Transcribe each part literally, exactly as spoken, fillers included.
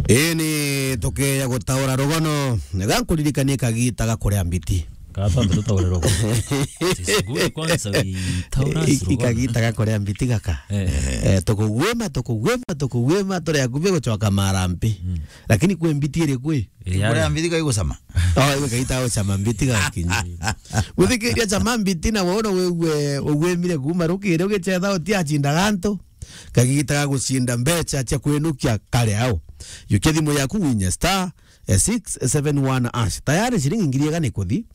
Ii ni tukeya gutaura rugono. Ga nkuririkanie kagita ga kuria mbiti. Ka twambe tutaure rugono. It's good kwanza we tell us I-, rugono. Ikagita ga kuria mbiti gaka. Eh. Eh, tukugwima, tukugwima, tukugwima, turi akubi gucoka marambi. Mm. Lakini kwi mbiti iri kwi? Iri kuria mbiti ga igucama. Oh, iwe kagita gucama mbiti gakinyi. Muthikiria cama mbiti na wona wigue ugwimire kuma rukiri ugicetha uti acinda gantu. Kagita ga gucinda mbeca cia kwinukia kari au. Yukia thimu yaku winye star, eh, six seven one hash. Tayari ciringi ngiri igana ikuthi.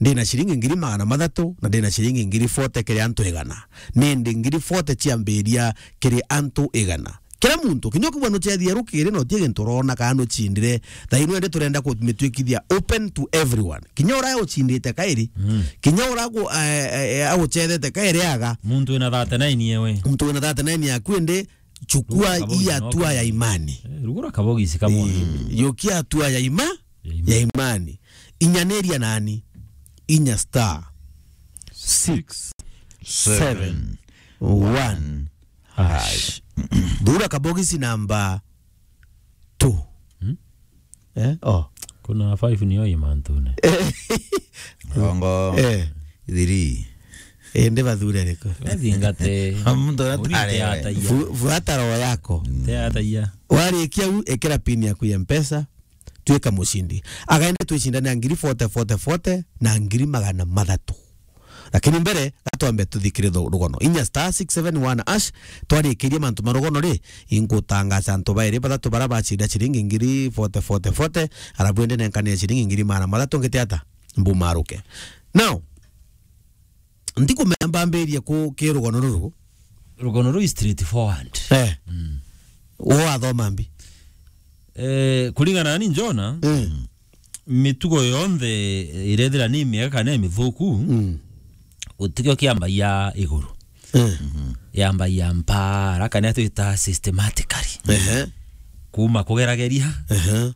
Ndina ciringi ngiri magana mathatu na ndina ciringi ngiri forty kiri antu igana. Nindi ngiri forty ciambiria kiri antu igana. Kira muntu, kinya ukigua nucethia rukiri na utie gintu urona kana nucindire, thaa ino indi turenda kumitwikithia open to everyone. Kinya uria ucindite kairi, mm, kinya uria agu-, eh, eh, eh, agucethete kairi aga. Muntu wina thirty-nine yewe. Muntu wina thirty-nine yaku indi, chukua hii hatua ya imani. Eh, rugura kabogisi kamwe. Eh, yukia hatua ya ima-, ya imani. Ya imani. Inyaniria nani? Inya star six seven one hash. Thura kabogisi namba two. Hmm? Eh? Oh. Kuna five niyo imantune. Rongo. Eh. Three. Eh, ndi bathure riko. Athingate. Muntu atare. Ataia. Fu-, fuata roho yako. Te ataia. Warikia u, ikira pin yaku ya Mpesa, twika mucindi. Agaende twicindane na ngiri forty, forty, forty na ngiri magana mathatu. Lakini mbere, gatwambe tuthikire thu-, rugono. Inya star six seven one hash, twarikirie mantu ma rugono ri, ingutangaca antu bairi bathatu bara bacinda ciringi ngiri forty, forty, forty, arabu indi nenkane ciringi ngiri magana mathatu ngite ata? Mbumaruke. Now, ntikumenya mbambirie ku-, ki rugono ruru. Rugono ruu is straightforward. Eh. Mm. Wo athoma mbi? Eh, kuringana na ni Jona, mm, mitugo yonthe irethira ni miega kana ni mithuku, mm, gutikio kiambagia iguru. Eh. Mhm. Yambagia mpara, kana twita systematically. Ehe. Kuma kugerageria, ehe,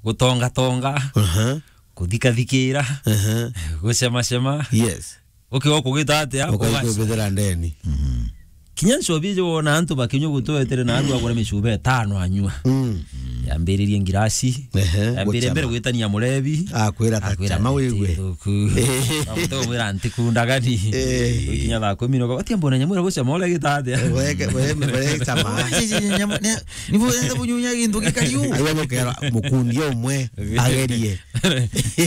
gutongatonga, ehe, kuthikathikira, ehe, gucemacema. Yes. Ukiwa kugita atia? Ukaigua bithira ndeni. Mhm. Kinya ncobi ijo wona antu bakinywa gutu wetere na andu agura micuba itano anyua. Mm. Yambiririe ngirasi. Ehe, yambiririe mbere gucama. Gwitania murebi. Akwira ta akwira cama ati wigue. Thuku. Eh. Amuto mwira ntikundagani. Eh. Ukinya thaa kumi no, ati mbona nyamwira gucama ule gita atia? Weke, weke, weke cama. Nyamu-, ne-, nibu enda bunyunya gintu gikariu. Ayo mukera mukundi umwe agerie.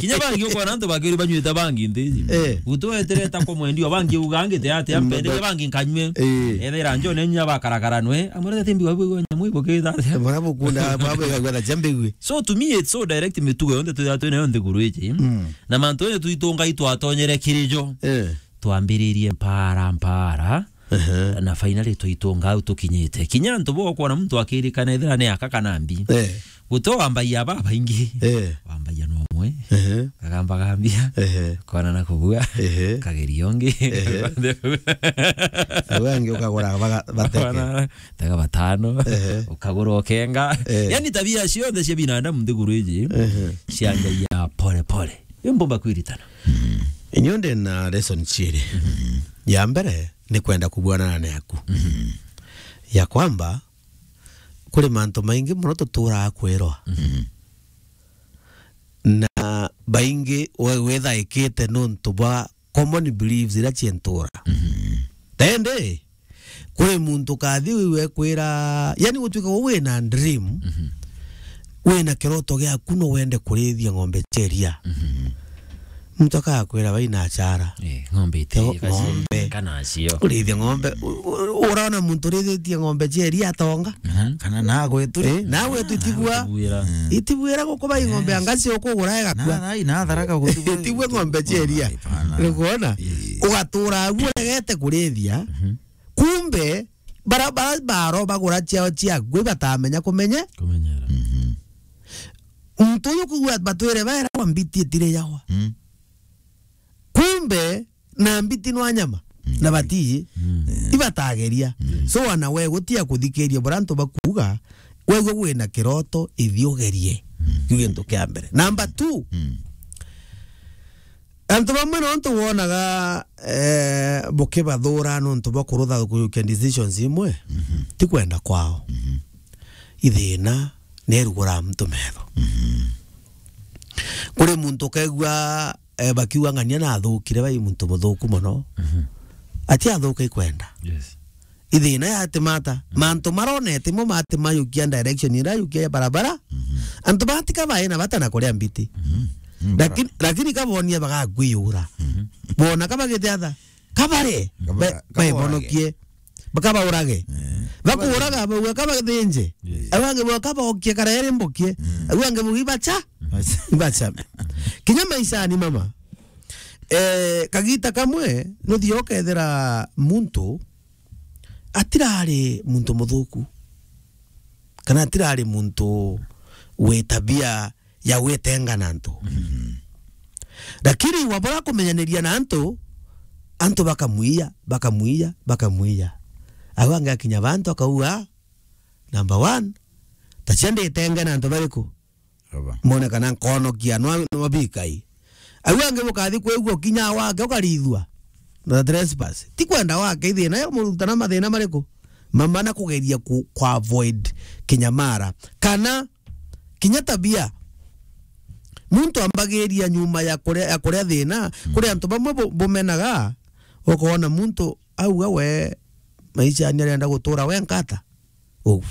Kinya bangi ukona antu bakiri banywite bangi nthi iji. Eh. Gutu wetereta kwa mwendia, bangi uga ngite atia, mm, mpende, ba- bangi nkanywe. Eh. Ethira njone nya bakarakara nwe, amurete timbi wabu nyamu ibukita atia. Mwana bukunda, babu igagwa na jambe igwe. So to me, it's so direct mitugo yonthe twithira twina yo nthiguru iji. Mm. Na mantu yo twitunga itwatonyere kiri jo. Eh. Twambiririe mpara, mpara. Ehe. Na finally twitunga au tukinyite. Kinya antu bo kwona muntu akirikana ethira ni aka kana mbi. Eh. Guto wambagia babaingi. Eh. Wambagia no umwe. Ehe. Kagamba gambia. Ehe. Kona na kubua. Ehe. Kageria ungi. Ehe. Au angi ukagura baga-, bateke. Kona tega batano. Ehe. Ukagura ukenga. Eh. Yani tabia cionthe cia binadamu nthiguru iji, ehe, cianjagia pole pole. Iyo mbomba kwiritana. Mm. Inyo ndi na lesson ciiri. Mm. Ya mbere ni kwenda kubuanana naku. Mm. Ya kwamba, kuri mantu maingi mono tuturaa kwirwa. Mm. Na baingi we-, withaikite nontu bwa common beliefs iria cientura. Mm. Tende, kuri muntu kathi wiwe kwira, yani, gutuika we wina dream, mhm, wina kiroto giaku no wende kurithia ng'ombe cia iria. Mhm. Muntu akakwira, "Bai na achara." Eh, ng'ombe iti, yo, kaci-, ng'ombe. Kana cio. Kurithia ng'ombe, u-, u-, urona muntu urithitie ng'ombe cia iria atonga? Kana, kana nagwe tu. Eh, nagwe tu itigua. Nagwe tu wira. Mm. Itibuira guku bai ng'ombe, yes, anga cio kugura igakua. Na, na, na tharaka gutigua. Itigua ng'ombe cia iria. Hapana. Nikuona? Eh. Ugatura agu uregete kurithia. Mhm. Kumbe, bara, bara baro bagura ciao ciaku, ibatamenya kumenye. Kumenyera. Mhm. Muntu uyu kugua batwire baera kwa mbiti itire yawa. Mm. Kumbe, na mbiti nwa nyama, mm, na bati, mm, ibatageria. Mm. So, wana we gutia kuthikiria bura antu bakuuga, wegwe wina kiroto, ithi ugerie. Mm. Kiu gintu kia mbere. Number two, mm, antu bamwe nontu wonaga, eh, bukibathura nontu bwa kurutha kujukia decisions imwe, mhm, ti kwenda kwao. Mhm. Ithina, ni erugura muntu metho. Mhm. Kuri muntu ukaigua, eh, bakiuga ng'ania nathukire, bai muntu muthuku mono. Mhm. Ati athuka ikwenda. Yes. Ithina yatimata. Mhm. Mantu maronete mo matimayukia direction ira yukia ya barabara. Mhm. Antu batika bae na bata na kuria mbiti. Mhm. Mm, lakini, bara- lakini kabonia bagakwiyura. Mhm. Bona kabagite atha. Kabare. Kaba-, ba-, kaborage. Baebonokie. Bakabaurage. Eh. Bakuuraga, bauga kabathinje. Yes. Au angi bauga kabokie karaere mbokie. Mm. Au angi bauga ibacha. Ibacha. Ibacha. Kinya maishani, mama. Eh, kagita kamwe, nuthia ukethira muntu atirari muntu muthuku. Kana atirari muntu wi tabia ya gwitenga na antu. Mhm. Lakini wabura kumenyaniria na antu, antu bakamwiya, bakamwiya, bakamwiya. Au angi akinya bantu akauga, number one, ta cia nditenge na antu bariku? Aba. Mone kana nkonokia nwa, nwa bikai. Au angi bukathi kwigua kinya wake ukarithua. Na trespass. Ti kwenda wake, ithina ya murutana mathina mariku? Mama na kugeria ku, ku avoid kinyamara. Kana kinya tabia. Muntu ambagiria nyuma ya kuria, ya kuria thina, mm, kuri antu bamwe bu-, bumenaga, ukoona muntu auga we maisha ni arenda gutura we nkata. Uu.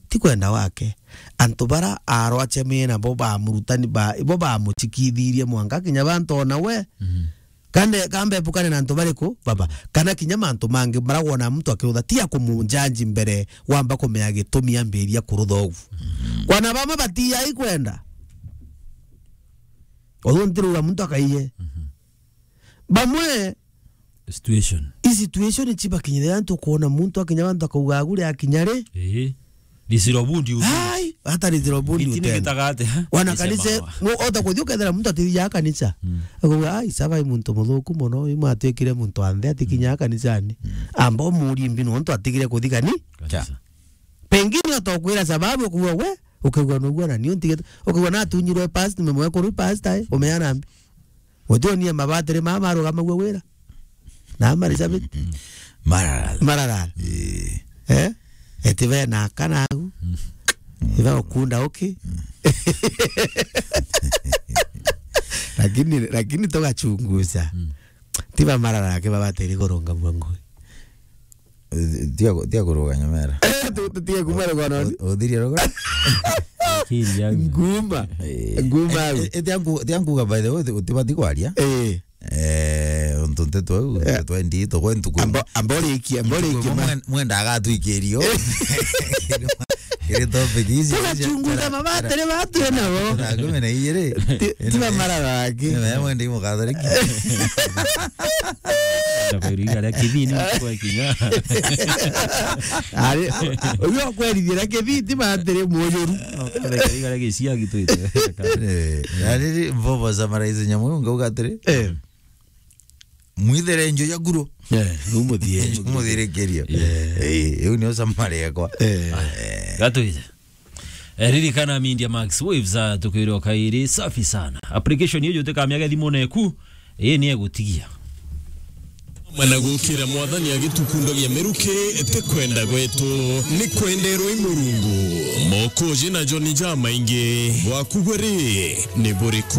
Ti kwenda wake. Antu bara arwachemie nabo bamurutani ba, ibo bamuchikithirie mwanka kinya bantu ona we. Mhm. Kande, kambe epukane na antu bariku, baba? Kana kinya mantu mangi maragwona muntu akiutha, ti ya kumujanji mbere, wamba kumenya gitumi ambiria kurutha ugu. Mhm. Kwana bamwe batiai kwenda. Uthu ntiruga muntu akaiye. Mhm. Bamwe situation. I situation chibakinyire antu, kuona muntu akinya bantu akauga agure akinya ri? Ii. Disiro bundi uti. Ai, hata disiro bundi. Iti ni utenda. Gitaga ati, ha? Wana kanisa, no, ota kuthi ukethira muntu atithia kanisa. Mm. Akauga, "Ai, saba i muntu muthuku mono, i mwatwikire muntu anthe atikinya kanisani." Mm. Amba umurie mbi nontu atigire kuthi kani? Kanisa. Pengine ota ukwira sababu, ukauga, "We, ukauga nugua na nio ntigite." Ukauga natunyirwe past, nimemwekuru past, ai, umeana mbi. Utionie mabatiri mama marugamagua wira. Na mari sabiti. Marara. Marara. Ii. Eh? Eti be na kana agu. Mm. Iba ukunda uki. Mm. Lakini, lakini tugachunguza. Mm. Tiba marara ke babatiri kurunga mwangu. Tia ku-, tia kuruga nyamera. Eh, tu-, tutige kuma rugono. U-, uthirie rugono. Akili yangu. Nguma. Eh. Nguma. Eh, eh, tia nku-, tia nkuga, by the way, uti-, utibati kwaria. Eh. Eh, untu nteto au, eh, nteto endi, tugwe ntuku. Amba, amba urikie, amba urikie ma- mwen-, mwenda agatwikirio. Kiri topic ici. Tugachunguza mabatiri batu nabo. Thaa kumi na igiri. Ti, ti mamarara aki. Ni maya mwende imukathoriki. Na kwiriga ria kithini kwa kinya. Ari, uyo kwerithira kithiti batiri mujuru. Kwiriga ria giciagi twite. Eh, na riri mbobo za maraisi nyamu ngauga atiri. Eh. Mwithere njo ya guru. Eh, numuthie. Numuthirikirio. Eh. Eh, iu nio samari yakwa. Eh. Eh. Gatwije. Eh, ririkana Media Max Waves, ah, tukwire o kairi, safi sana. Application iyo jutika miaga thimu neku, ii ni egutigia. Mana gukira mwathani agitukundavia miruki, ti kwenda gwetu, ni kwenderwa i Murungu. Mokoji na John jamaingi, bwaku bwe ri, ni buriku?